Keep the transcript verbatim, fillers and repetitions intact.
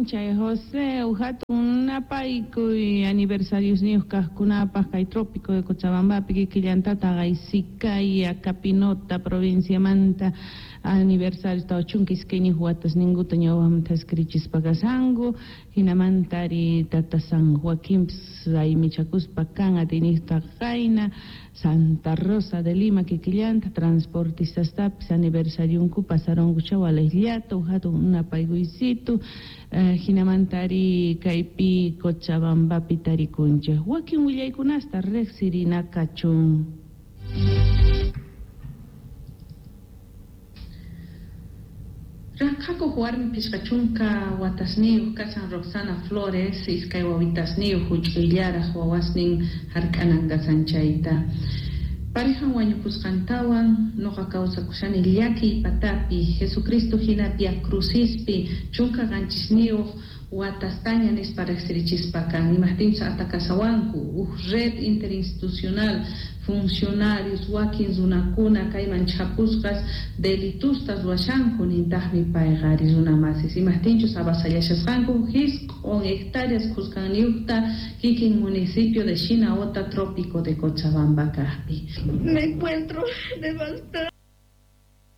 p'unchay José, hatun napaykuy aniversariosniyuq kaqkunapaq kay trópico de Cochabambapi kikillantata Sicaya, Capinota provinciamanta aniversario tawa chunka iskayniyuq watasninkuta ñawpaqmanta thaskirichispa kashanku, hinamantari tata San Joaquinpis raymichakuspa kan atiyniqta qayna Santa Rosa de Lima kikillanta transportistastapis aniversarionku pasarunkucha walejllata hatun napaykuysitu eh, hinamantari kaypi Cochabambapi tarikunchik wakin willaykunasta riqsirina kachun. Ranqhakuq warmi phisqa chunka watasniyuq kashan Roxana Flores, iskay wawitasniyuq huch'uyllaraq wawasnin hark'anan kasan chayta. Parejan wañupusqantawan nuqa kawsakushani llakiy patapi, Jesucristo hina Via Crucispi chunka qanchisniyuq watastaña nispa riqsirichispa kan, imajtinchus atakasawanku uj red interinstitucional funcionarios wakin runakuna kayman chhapusqas delitustas ruwashanku nintaqmi payqa ari runa masis imajtinchus avasallashasqanku jisq'on hectáreas khuskanniyuqta kikin municipio de Shinaota, trópico de Cochabamba kaqpi. Me encuentro devastada.